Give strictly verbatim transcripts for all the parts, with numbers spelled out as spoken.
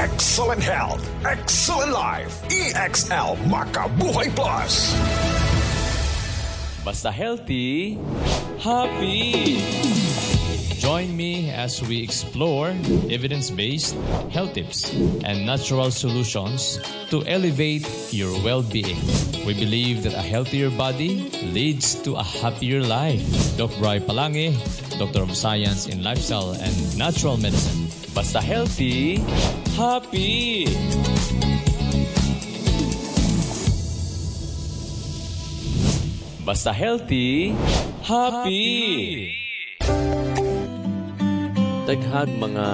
Excellent health, excellent life. E X L Makabuhay Plus. Basta healthy, happy. Join me as we explore evidence-based health tips and natural solutions to elevate your well-being. We believe that a healthier body leads to a happier life. Doc Bry Palangi, Doctor of Science in Lifestyle and Natural Medicine. Basta healthy, happy. Basta healthy, happy. Daghag mga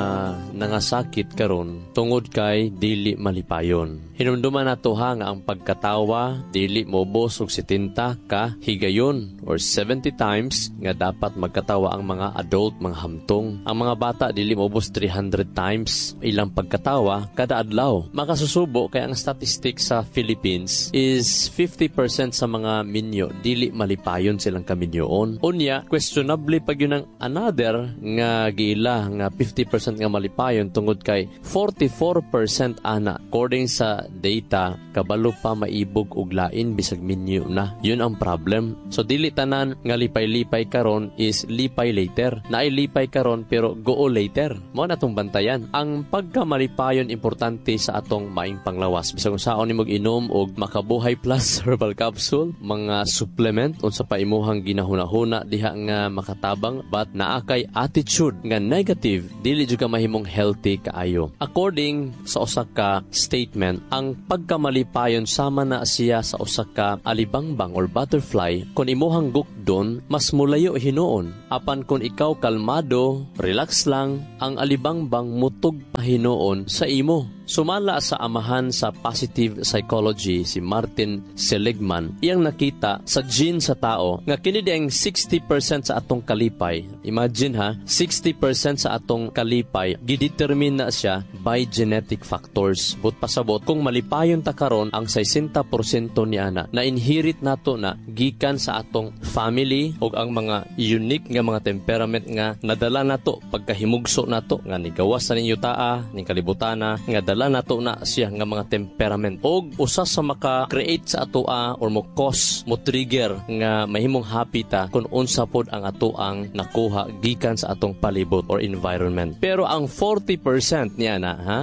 nangasakit karon tungod kay dili malipayon. Hinumduman nato ha nga ang pagkatawa dili moubos og setenta ka higayon or seventy times nga dapat magkatawa ang mga adult, mga hamtong. Ang mga bata dili moubos three hundred times ilang pagkatawa kada adlaw. Makasusubo kay ang statistic sa Philippines is fifty percent sa mga minyo dili malipayon silang kaminyoon. Unya, questionably pag yun ang another nga giila nga fifty percent nga malipayon tungod kay forty-four percent ana according sa data kabalo pa maibog og lain bisag minyo na. Yun ang problem. So dili tanan nga lipay-lipay karon is lipay later. Naay lipay karon pero go later. Mo na atong bantayan. Ang pagkamalipayon importante sa atong maing panglawas. Bisag unsaon nimo inom og Makabuhay Plus herbal capsule, mga supplement, unsa pa imuhang ginahuna-huna diha nga makatabang, but naa kay attitude nga negative, dili jud ka mahimong healthy kaayo. According sa usa ka statement, ang pagkamalipayon sama na siya sa usa ka alibangbang or butterfly. Kung imuhang gukdon, mas mulayo hinuon. Apan kung ikaw kalmado, relax lang, ang alibangbang mutug pa hinuon sa imo. Sumala sa amahan sa positive psychology, si Martin Seligman, iyang nakita sa gene sa tao nga kini ang sixty percent sa atong kalipay. Imagine ha, sixty percent sa atong kalipay gidetermine na siya by genetic factors. But pasabot kung malipayon ta karon, ang sixty percent ni ana na inherit nato na gikan sa atong family ug ang mga unique nga mga temperament nga nadala nato pagkahimugso nato nga nigawas sa ninyo taa ning kalibutana nga dala nato na siya nga mga temperament. Og usa sa maka-create sa atoa or mo cause, mo trigger nga mahimong happy ta kung unsa pod ang atoang nakuha gikan sa atong palibot or environment. Pero ang forty percent niya na ha,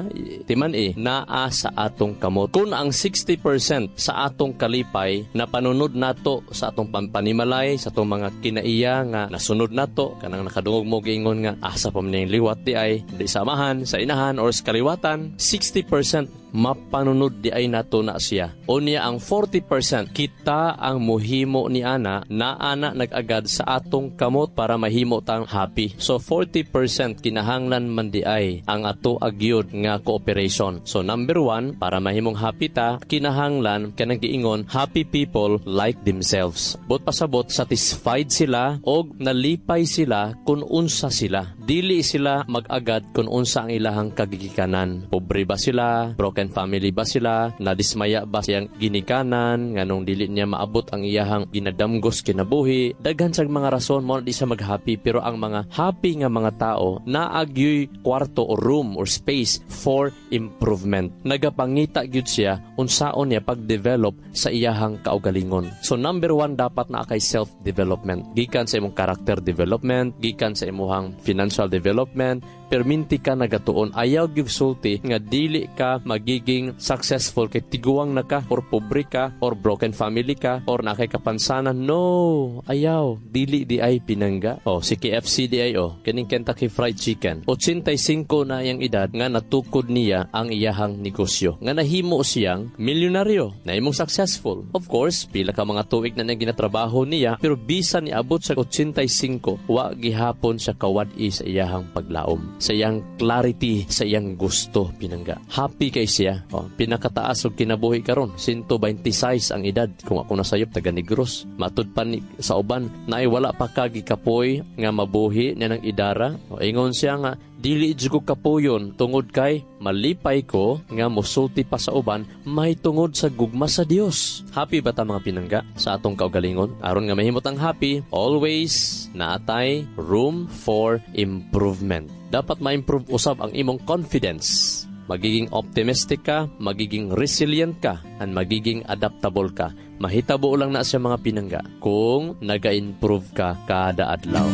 timan eh naa sa atong kamot. Kung ang sixty percent sa atong kalipay na panunod nato sa atong pampanimalay, sa atong mga kinaiya nga nasunod nato, kanang nakadungog mo giingon nga asa pa man liwat di ay di sa amahan, sa inahan or sa kaliwatan, sixty percent mapanunod di ay nato na siya. Unya ang forty percent, kita ang muhimo ni ana na ana nag-agad sa atong kamot para mahimo tang happy. So forty percent kinahanglan man di ay ang ato agyod nga cooperation. So number one, para mahimong happy ta, kinahanglan kanang giingon, happy people like themselves. But pasabot satisfied sila og nalipay sila kung unsa sila. Dili sila mag-agad kung unsa ang ilahang kagigikanan. Pobre ba sila? Broken family ba sila? Nadismaya ba siyang ginikanan? Nganong dili niya maabot ang iyahang ginadamgos kinabuhi? Daghan sa mga rason mo di siya mag-happy, pero ang mga happy nga mga tao naagyoy kwarto or room or space for improvement. Nagapangita gyud siya unsaon niya pag-develop sa iyahang kaugalingon. So number one, dapat naa kay self-development. Gikan sa imong character development, gikan sa imuhang financial development, perminti ka nagatuon. Ayaw gyud sulti nga dili ka magiging successful kay tiguang na ka or pobre ka or broken family ka or naa kay kapansanan. No, ayaw. Dili di ay, pinangga. Oh, si K F C di ay, oh, kining Kentucky Fried Chicken. eighty-five na iyang edad nga natukod niya ang iyahang negosyo. Nga nahimo siyang milyonaryo, nahimong successful. Of course, pila ka mga tuig na niyang ginatrabaho niya, pero bisan niabot sa eighty-five, wa gihapon siya kawad-i sa iyahang paglaom, sa iyang clarity, sa iyang gusto, pinangga. Happy kay siya. Oh, pinakataas og kinabuhi karon, one twenty-six ang edad. Kung ako nasayop, taga Negros. Matud pa ni, sa uban, naay wala pa ka gikapoy nga mabuhi niya ng idara. O, ingon siya nga, dili jud ko kapuyon tungod kay malipay ko nga mosulti pa sa uban may tungod sa gugma sa Dios. Happy ba ta, mga pinangga, sa atong kaugalingon? Aron nga mahimot ang happy, always naatay room for improvement. Dapat ma-improve usab ang imong confidence. Magiging optimistic ka, magiging resilient ka, and magiging adaptable ka. Mahitabo lang na siya, mga pinangga, kung naga-improve ka kada adlaw.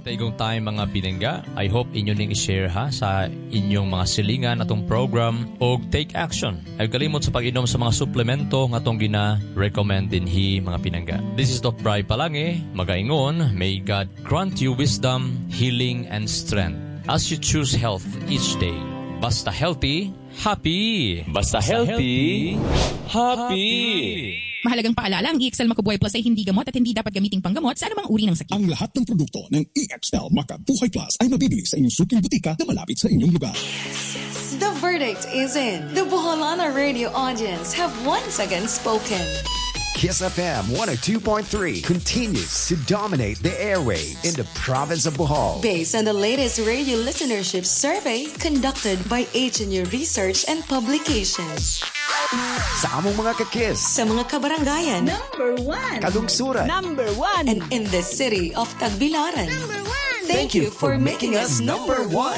Taigong time, mga pinangga. I hope inyo ning i-share ha sa inyong mga silingan atong program og take action. Ay kalimot sa pag-inom sa mga suplemento nga atong gina-recommend dinhi, mga pinangga. This is Doc Bry Palange, magaingon, may God grant you wisdom, healing and strength as you choose health each day. Basta healthy, happy. Basta healthy, happy. Mahalagang paalala, ang E X L Makubuhay Plus ay hindi gamot at hindi dapat gamiting panggamot sa anumang uri ng sakit. Ang lahat ng produkto ng E X L Makabuhay Plus ay mabibili sa inyong suking botika na malapit sa inyong lugar. The verdict is in. The Boholana radio audience have once again spoken. Kiss F M one oh two point three continues to dominate the airwaves in the province of Bohol. Based on the latest radio listenership survey conducted by H N U Research and Publications. Sa among mga kakiss, Sa mga kabarangayan. Number one. Kalungsuran, Number one. And in the city of Tagbilaran. Number one. Thank you for making us number one.